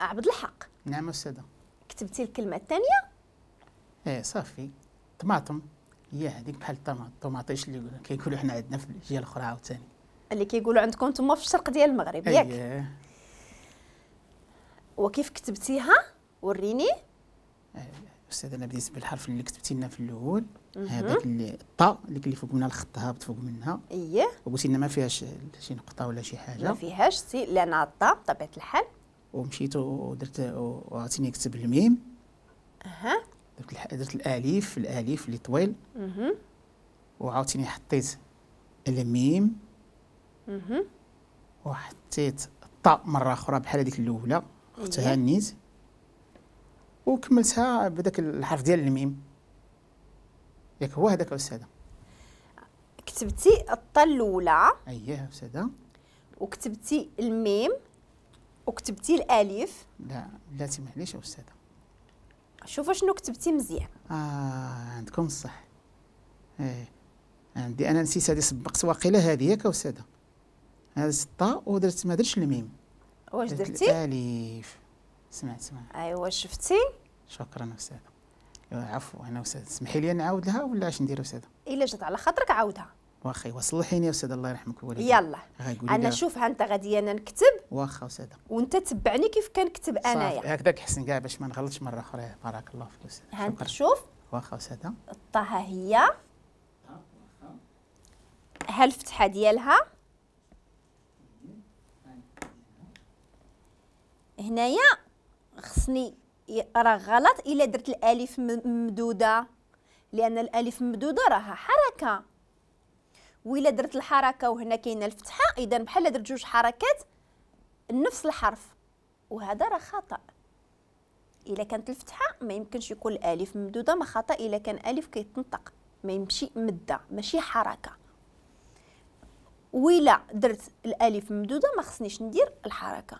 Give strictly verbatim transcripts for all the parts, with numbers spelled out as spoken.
عبد الحق. نعم أستاذة. كتبتي الكلمة الثانية؟ ايه صافي، طماطم هي هذيك بحال الطوماطيش اللي كيقولوا حنا عندنا في الجهة الأخرى عاوتاني، اللي كيقولوا عندكم نتوما في الشرق ديال المغرب، ياك؟ ايه. وكيف كتبتيها؟ وريني. أستاذ أنا بديت بالحرف اللي كتبتي لنا في الأول، هذاك اللي الطاء اللي اللي فوق منها الخط هابط فوق منها. اييه. وقلتي لنا ما فيهاش شي نقطة ولا شي حاجة. ما فيهاش سي لأن الطاء بطبيعة الحال. ومشيت ودرت وعطيني كتب الميم. اها. درت درت الألف، الألف اللي طويل. اها. وعاوتاني حطيت الميم. اها. وحطيت الطاء مرة أخرى بحال هذيك الأولى، اختها النيت. وكملتها بداك الحرف ديال الميم. ياك هو هذاك أستاذة؟ كتبتي الطاء الأولى. أييه أستاذة. وكتبتي الميم وكتبتي الألف. لا بلاتي معليش أستاذة. شوفوا شنو كتبتي مزيان. آه عندكم الصح. إيه عندي أنا نسيت هذه، سبقت واقيلا هذه، ياك أستاذة؟ هذه الطاء ودرت ما درتش الميم. واش درتي؟ الألف. سمعت سمعت. ايوا شفتي؟ شكرا أستاذة. عفوا أنا أستاذ، اسمحي لي نعاود لها ولا اش ندير أستاذة؟ إلا جات على خاطرك عاودها. واخا وصلحيني أستاذة الله يرحمك الوالدين. يلا أنا شوفها أنت غادي أنا نكتب. واخا أستاذة. وأنت تبعني كيف كنكتب أنايا. هكذاك حسن كاع باش ما نغلطش مرة أخرى. بارك الله فيك أستاذة. ها أنت شوف. واخا أستاذة. الطه هي. ها الفتحة ديالها. هنايا خصني راه غلط الا درت الالف ممدوده، لان الالف ممدوده راها حركة، وإلا درت الحركة وهنا كاينه الفتحة اذا بحال درت جوج حركات نفس الحرف، وهذا راه خطا. الا كانت الفتحة ما يمكنش يكون الالف ممدوده، ما خطا الا كان الف كيتنطق ما يمشي مده ماشي حركة. وإلا درت الالف ممدوده ما خصنيش ندير الحركة،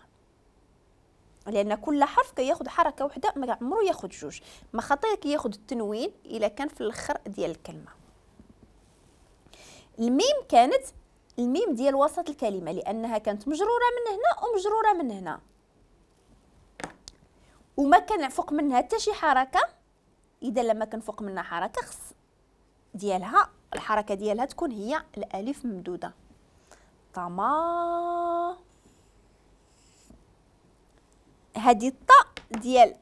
لان كل حرف كياخذ حركة وحده ما عمرو ياخذ جوج. ما خطا كياخذ التنوين الا كان في الاخر ديال الكلمة. الميم كانت الميم ديال وسط الكلمة لانها كانت مجرورة من هنا ومجروره من هنا، وما كان فوق منها حتى شي حركة. اذا لما كان فوق منها حركة خص ديالها الحركة ديالها تكون هي الالف ممدوده. طما هذه الطاء ديال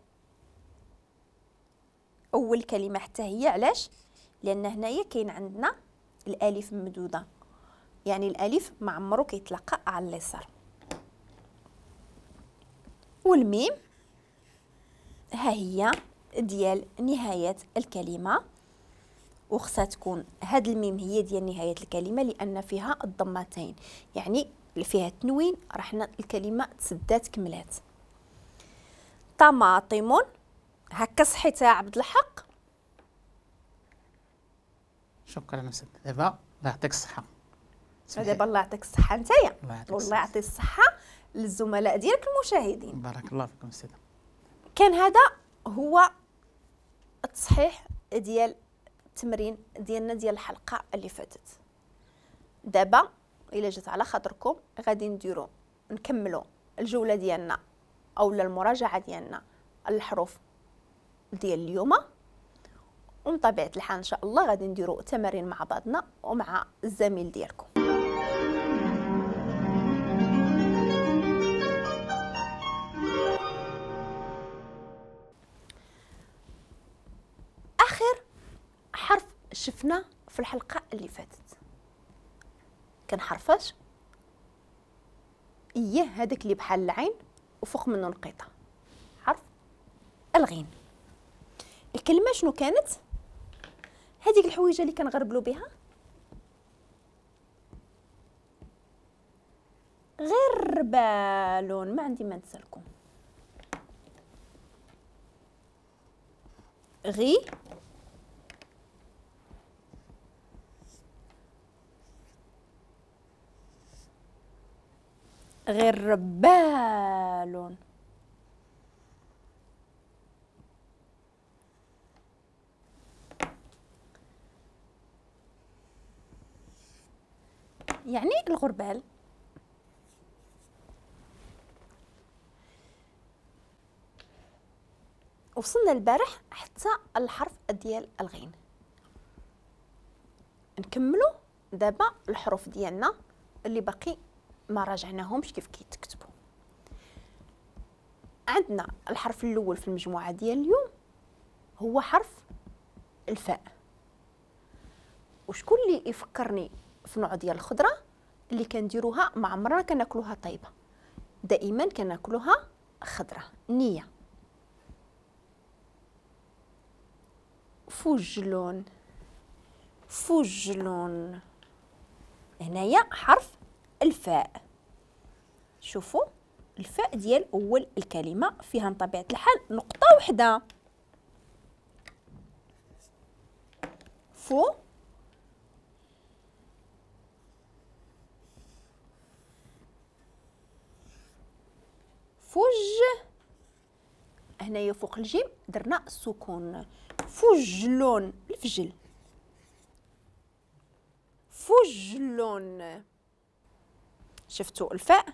اول كلمة حتى هي، علاش؟ لان هنايا كاين عندنا الالف ممدوده، يعني الالف ما عمرو كيتلاقى على اليسار. والميم ها هي ديال نهاية الكلمة، وخصها تكون هاد الميم هي ديال نهاية الكلمة لان فيها الضمتين، يعني فيها التنوين راه الكلمة تسدات كملات. طماطم هكا صحيتها عبد الحق. شكرا أستاذ. دابا الله يعطيك الصحة. دابا الله يعطيك الصحة نتايا، والله يعطي الصحة للزملاء ديالك المشاهدين. بارك الله فيكم أستاذ. كان هذا هو التصحيح ديال التمرين ديالنا ديال الحلقة اللي فاتت. دابا إلا جات على خاطركم غادي نديرو نكملو الجولة ديالنا أو المراجعة ديالنا الحروف ديال اليوم، ومن طبيعة الحال إن شاء الله غادي نديرو تمارين مع بعضنا ومع الزميل ديالكم. آخر حرف شفنا في الحلقة اللي فاتت كان حرفاش؟ إيه هذاك اللي بحال العين وفوق منه نقيطة، حرف الغين. الكلمة شنو كانت؟ هذيك الحويجة اللي كنغربلو بها غربال، ما عندي ما نسالكم. غي غربال. يعني الغربال. وصلنا البارح حتى الحرف ديال الغين. نكملوا دابا الحروف ديالنا اللي باقي ما راجعناهمش كيف كيتكتبوا. عندنا الحرف الاول في المجموعة ديال اليوم هو حرف الفاء. وشكون اللي يفكرني في نوع ديال الخضرة اللي كنديروها ما عمرنا كناكلوها طيبة، دائما كناكلوها خضرة نيه؟ فجلون، فجلون. هنايا حرف الفاء. شوفوا الفاء ديال اول الكلمة فيها بطبيعة الحال نقطة وحده. فو فج، هنايا فوق الجيم درنا السكون. فجلون، الفجل، فجلون. شفتوا الفاء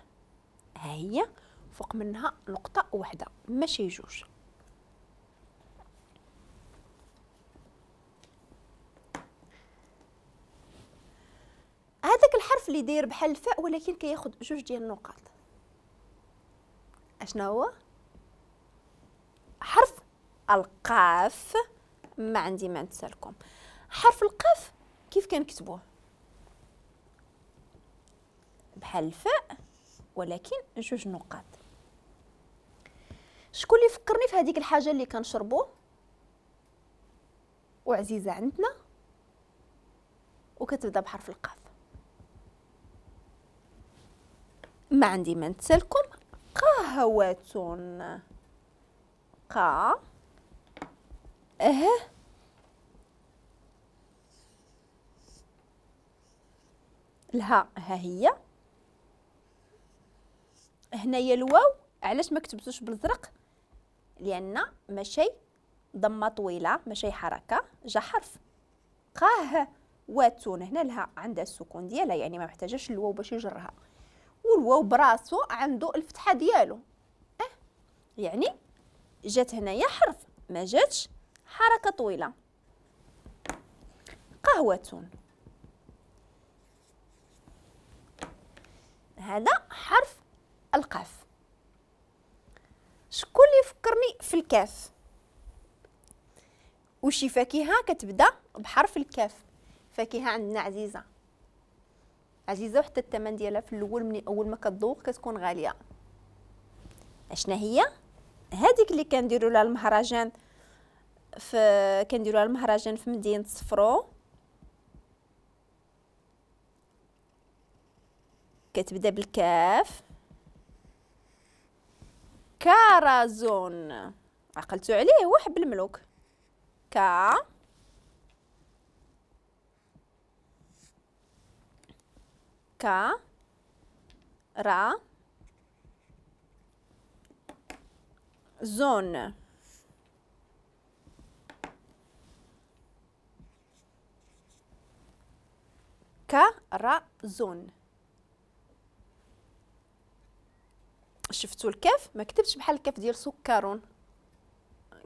ها هي فوق منها نقطة واحدة ماشي جوج. هذاك الحرف اللي داير بحال الفاء ولكن كياخذ جوج ديال النقاط، اشنا هو؟ حرف القاف. ما عندي ما نتسالكم. حرف القاف كيف كنكتبوه؟ بحال الفاء ولكن جوج نقاط. شكون اللي فكرني في هذيك الحاجة اللي كنشربو وعزيزه عندنا وكتبدا بحرف القاف؟ ما عندي ما نتسالكم. قهوة، قا اه الها ها هي. هنايا الواو علاش ما كتبتوش بالزرق؟ لان ماشي ضمه طويلة، ماشي حركة، جا حرف. قاه واتون، هنا لها عندها السكون ديالها، يعني ما محتاجاش الواو باش يجرها، والواو براسو عنده الفتحة ديالو. اه يعني جات هنايا حرف، ما جاتش حركة طويلة. قهوة، هذا حرف القاف. شكون اللي يفكرني في الكاف؟ وشي فاكهة كتبدا بحرف الكاف؟ فاكهة عندنا عزيزه، عزيزه وحتى الثمن ديالها في الاول من اول ما كتذوق كتكون غالية. اشنا هي؟ هذيك اللي كنديروا لها المهرجان في كنديروا لها المهرجان في مدينة صفرو، كتبدا بالكاف. كارازون، عقلتو عليه، هو حب الملوك. كا كا را زون. كرازون. شفتوا الكاف؟ ما كتبتش بحال الكاف ديال سكرون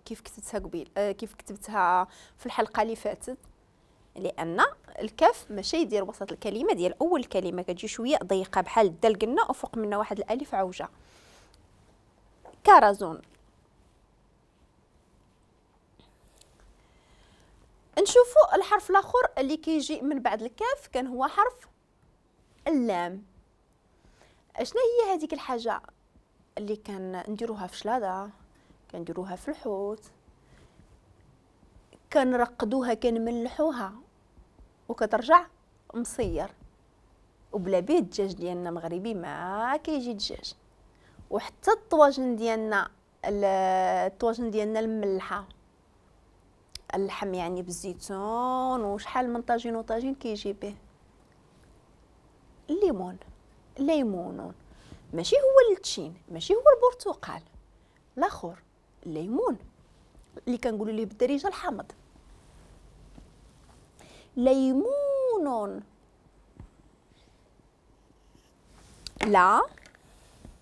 كيف كتبتها قبيل، آه كيف كتبتها في الحلقة اللي فاتت، لان الكاف ماشي يدير وسط الكلمة ديال اول كلمة، كتجي شوية ضيقه بحال الدال قلنا وفوق منها واحد الالف عوجه. كرازون. نشوفوا الحرف الاخر اللي كيجي من بعد الكاف، كان هو حرف اللام. اشنا هي هذيك الحاجة اللي كان نديروها في شلاضه، كنديروها في الحوت، كنرقدوها، كنملحوها وكترجع مصير، وبلا بيه الدجاج ديالنا مغربي ما كيجي دجاج. وحتى الطواجن ديالنا، الطواجن ديالنا المملحه، اللحم يعني بالزيتون وشحال من طاجين وطاجين كيجي به الليمون. ليمون ماشي هو التشين، ماشي هو البرتقال، الاخر الليمون اللي كنقولوا ليه بالدارجة الحامض. ليمون، لا